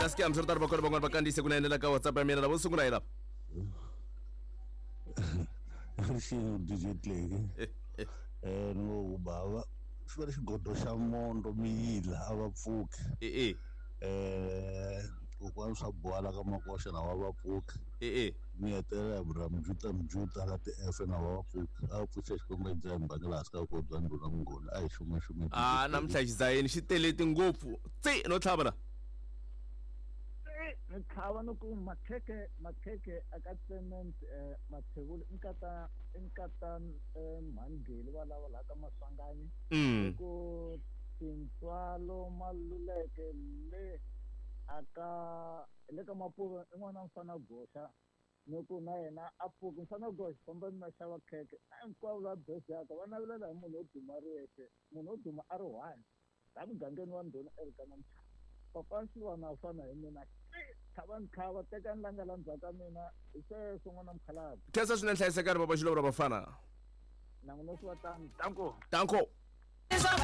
Kasi ke hambiswiritano va kona van'wana va kandziyise kunene la ka WhatsApp ya mina lavo sungula hi lava. Rixini DJ Tleki. Eh no bava xi va xigodo xa mondo miyila a va pfuki. E e. Eh kokwani swa bola ka makoxa na va va pfuki. E e. Mi hetelela hi vura mjuta mjuta ka ti-F na va va pfuki. A va pfuxa xikwembu xa mbangela hansi ka kodwa ndhuna mungoni a hi xuma xuma. A namuntlha xizayeni xi teleti ngopfu. Tsi no tlhava la. Ni tlhava ni ku makhekhe makhekhe aka cement mathevula i nkata i nkata mhangeli va lava laha ka maswanganyi ku tintswalo maluleke le aka le ka mapuve i n'wana mfana goxa ni ku na yena a pfuki mfana goxa famba ni ma xava khekhe a hinkwavo lava bezaka va navelela hi munhu wo duma ri yexe munhu wo duma a ri one laha mugangeni wa ndhuna Elkana Mchaka papa Xilwana a fana hi mina tlhavani tlhava tekani la nga la ndzhaku ka mina hi sweswo n'wana mukhalabye. Khensa swinene hlayisekani papa Xilova ra vafana. Na n'wina swi va tano. Danko. Danko.